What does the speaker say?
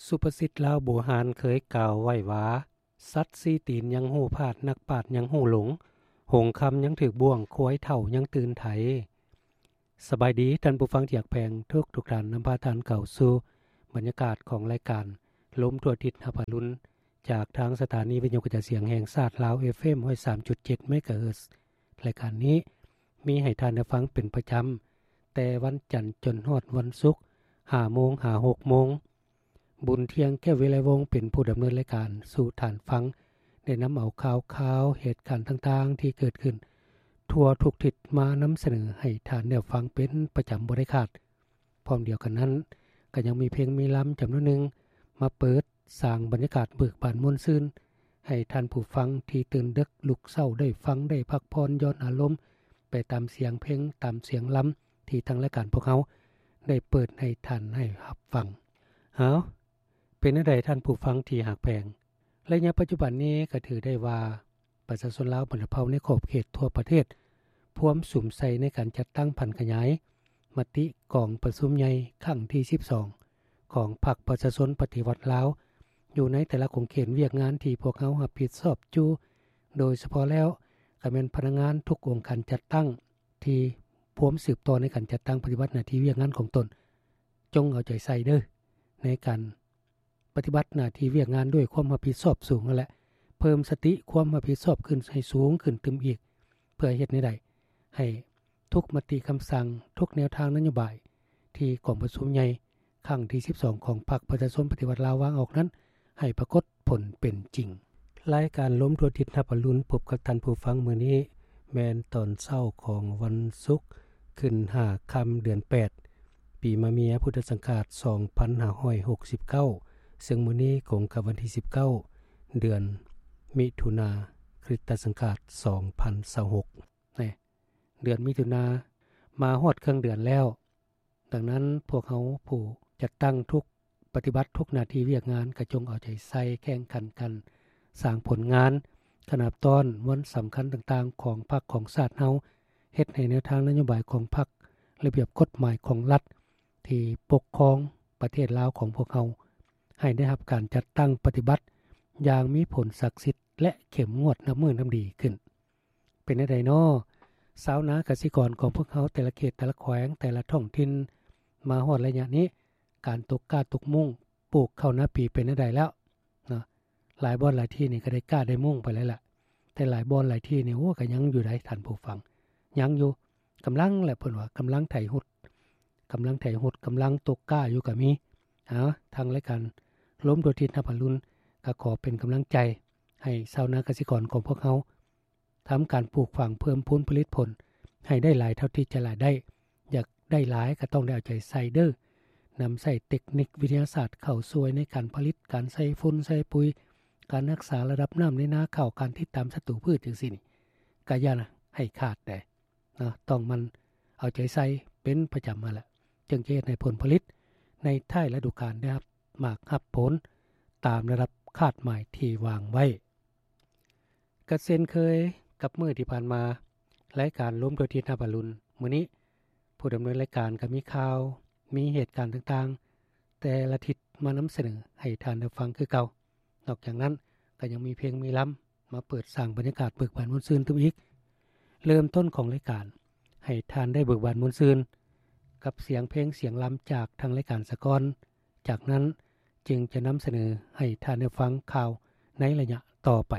ສຸພາສິດລາວບູຮານເຄີຍກ່າວໄວ້ວ່າ ສັດສີ່ຕີນຍັງຮູ້ພາດ, ນັກປາດຍັງຮູ້ຫຼົງ, ຫົງຄຳຍັງຖືກບ້ວງ, ຄວາຍເຖົ້າຍັງຕື່ນໄຖ. ສະບາຍດີທ່ານຜູ້ຟັງທີ່ຮັກແພງທຸກໆທ່ານ, ນຳພາທ່ານເຂົ້າສູ່ບັນຍາກາດຂອງລາຍການລົມທົ່ວທິດຮັບອະລຸນ ຈາກທາງສະຖານີວິທະຍຸກະຈາຍສຽງແຫ່ງຊາດລາວ ເອຟເອັມ ຮ້ອຍສາມຈຸດເຈັດ ເມກາເຮີດ. ລາຍການນີ້ມີໃຫ້ທ່ານໄດ້ຟັງເປັນປະຈຳ ແຕ່ວັນຈັນຈົນຮອດວັນສຸກ ຫ້າໂມງຫາຫົກໂມງ. ບຸນທ່ຽງ ແກ້ວວິໄລວົງ ເປັນຜູ້ດຳເນີນລາຍການສູ່ທ່ານຟັງ, ໄດ້ນຳເອົາຂ່າວຄາວເຫດການຕ່າງໆທີ່ເກີດຂຶ້ນທົ່ວທຸກທິດມານຳສະເໜີໃຫ້ທ່ານໄດ້ຟັງເປັນປະຈຳບໍ່ໄດ້ຂາດ. ພ້ອມດຽວກັນນັ້ນ ກໍຍັງມີເພງມີລຳຈຳນວນໜຶ່ງມາເປີດສ້າງບັນຍາກາດເບີກບານມ່ວນຊື່ນ ໃຫ້ທ່ານຜູ້ຟັງທີ່ຕື່ນເດິກລຸກເຊົ້າໄດ້ຟັງ ໄດ້ພັກຜ່ອນຢ່ອນອາລົມໄປຕາມສຽງເພງ ຕາມສຽງລຳທີ່ທາງລາຍການພວກເຮົາໄດ້ເປີດໃຫ້ທ່ານໄດ້ຮັບຟັງ. ເອົາ ເປັນແນວໃດທ່ານຜູ້ຟັງທີ່ຮັກແພງ? ໄລຍະປັດຈຸບັນນີ້ກໍຖືໄດ້ວ່າ ປະຊາຊົນລາວບັນດາເຜົ່າໃນຂອບເຂດທົ່ວປະເທດ ພວມສຸມໃສ່ໃນການຈັດຕັ້ງຜັນຂະຫຍາຍມະຕິກອງປະຊຸມໃຫຍ່ຄັ້ງທີສິບສອງ ຂອງພັກປະຊາຊົນປະຕິວັດລາວ ຢູ່ໃນແຕ່ລະຂົງເຂດວຽກງານທີ່ພວກເຮົາຮັບຜິດຊອບຢູ່, ໂດຍສະເພາະແລ້ວກໍແມ່ນພະນັກງານທຸກອົງການຈັດຕັ້ງທີ່ພວມສືບຕໍ່ໃນການຈັດຕັ້ງປະຕິບັດໜ້າທີ່ວຽກງານຂອງຕົນ. ຈົ່ງເອົາໃຈໃສ່ເດີ້ ໃນການ ປະຕິບັດໜ້າທີ່ວຽກງານດ້ວຍຄວາມຮັບຜິດຊອບສູງຫັ້ນແຫຼະ, ເພີ່ມສະຕິຄວາມຮັບຜິດຊອບຂຶ້ນໃຫ້ສູງຂຶ້ນຕື່ມອີກ ເພື່ອເຮັດແນວໃດໃຫ້ທຸກມະຕິຄຳສັ່ງ, ທຸກແນວທາງນະໂຍບາຍທີ່ກອງປະຊຸມໃຫຍ່ຄັ້ງທີສິບສອງ ຂອງພັກປະຊາຊົນປະຕິວັດລາວວາງອອກນັ້ນ ໃຫ້ປາກົດຜົນເປັນຈິງ. ລາຍການລົມທົ່ວທິດຮັບອະລຸນ ພົບກັບທ່ານຜູ້ຟັງມື້ນີ້ ແມ່ນຕອນເຊົ້າຂອງວັນສຸກ ຂຶ້ນຫ້າຄ່ຳເດືອນແປດ ປີມະເມຍ ພຸດທະສັງຂາດ ສອງພັນຫ້າຮ້ອຍຫົກສິບເກົ້າ ເຊິ່ງມື້ນີ້ກົງກັບວັນທີສິບເກົ້າ ເດືອນມິຖຸນາ ຄຣິສຕະສັງຂາດ ສອງພັນຊາວຫົກ. ແນ່ ເດືອນມິຖຸນາ ມາຮອດເຄິ່ງເດືອນແລ້ວ. ດັ່ງນັ້ນ ພວກເຮົາຜູ້ຈັດຕັ້ງທຸກ ປະຕິບັດທຸກໜ້າທີ່ວຽກງານ ກໍຈົ່ງເອົາໃຈໃສ່ແຂ່ງຂັນກັນສ້າງຜົນງານ ຂະໜາບຕ້ອນວັນສຳຄັນຕ່າງໆຂອງພັກຂອງຊາດເຮົາ, ເຮັດໃຫ້ແນວທາງນະໂຍບາຍຂອງພັກ, ລະບຽບກົດໝາຍຂອງລັດທີ່ປົກຄອງປະເທດລາວຂອງພວກເຮົາ ໃຫ້ໄດ້ຮັບການຈັດຕັ້ງປະຕິບັດຢ່າງມີຜົນສັກສິດ ແລະ ເຂັ້ມງວດນັບມື້ນັບດີຂຶ້ນ. ເປັນແນວໃດນໍ ຊາວນາກະສິກອນຂອງພວກເຮົາ ແຕ່ລະເຂດ ແຕ່ລະແຂວງ ແຕ່ລະທ້ອງຖິ່ນ ມາຮອດໄລຍະນີ້ ການຕົກກ້າຕົກມຸ້ງ ປູກເຂົ້ານາປີເປັນແນວໃດແລ້ວເນາະ? ຫຼາຍບ່ອນຫຼາຍທີ່ນີ້ກໍໄດ້ກ້າໄດ້ມຸ້ງໄປແລ້ວລະ, ແຕ່ຫຼາຍບ່ອນຫຼາຍທີ່ນີ້ ໂອ້ ກໍຍັງຢູ່ໃດ໋ທ່ານຜູ້ຟັງ, ຍັງຢູ່, ກຳລັງແຫຼະ ເພິ່ນວ່າ ກຳລັງໄຖຮຸດ, ກຳລັງໄຖຮຸດ, ກຳລັງຕົກກ້າຢູ່ກໍມີ. ເອົາ ທາງລາຍການລົມທົ່ວທິດຮັບອະລຸນ ກໍຂໍເປັນກຳລັງໃຈໃຫ້ຊາວນາກະສິກອນຂອງພວກເຮົາ ທຳການປູກຝັງເພີ່ມພູນຜະລິດຜົນໃຫ້ໄດ້ຫຼາຍເທົ່າທີ່ຈະຫຼາຍໄດ້, ຢາກໄດ້ຫຼາຍກໍຕ້ອງໄດ້ເອົາໃຈໃສ່ເດີ້, ນຳໃຊ້ເຕັກນິກວິທະຍາສາດເຂົ້າຊ່ວຍໃນການຜະລິດ, ການໃສ່ຝຸ່ນໃສ່ປຸຍ, ການຮັກສາລະດັບນ້ຳໃນນາເຂົ້າ, ການຕິດຕາມສັດຕູພືດຈັ່ງຊີ້ນີ້ ກໍຢ່າໃຫ້ຂາດແດ່ເນາະ, ຕ້ອງໝັ່ນເອົາໃຈໃສ່ເປັນປະຈຳຫັ້ນແຫຼະ, ຈຶ່ງຈະເຮັດໃຫ້ຜົນຜະລິດໃນທ້າຍລະດູການໄດ້ຮັບໝາກຮັບຜົນຕາມລະດັບຄາດໝາຍທີ່ວາງໄວ້. ກໍເຊັ່ນເຄີຍກັບມື້ທີ່ຜ່ານມາ, ລາຍການລົມທົ່ວທິດຮັບອະລຸນມື້ນີ້ ຜູ້ດຳເນີນລາຍການກໍມີຂ່າວ, ມີເຫດການຕ່າງໆ ແຕ່ລະທິດມານຳສະເໜີໃຫ້ທ່ານໄດ້ຟັງຄືເກົ່າ. ນອກຈາກນັ້ນກໍຍັງມີເພງມີລຳມາເປີດສ້າງບັນຍາກາດເບີກບານມ່ວນຊື່ນຕື່ມອີກ. ເລີ່ມຕົ້ນຂອງລາຍການ ໃຫ້ທ່ານໄດ້ເບີກບານມ່ວນຊື່ນກັບສຽງເພງສຽງລຳຈາກທາງລາຍການສາກ່ອນ. ຈາກນັ້ນຈຶ່ງຈະນຳສະເໜີໃຫ້ທ່ານໄດ້ຟັງຂ່າວໃນໄລຍະຕໍ່ໄປ.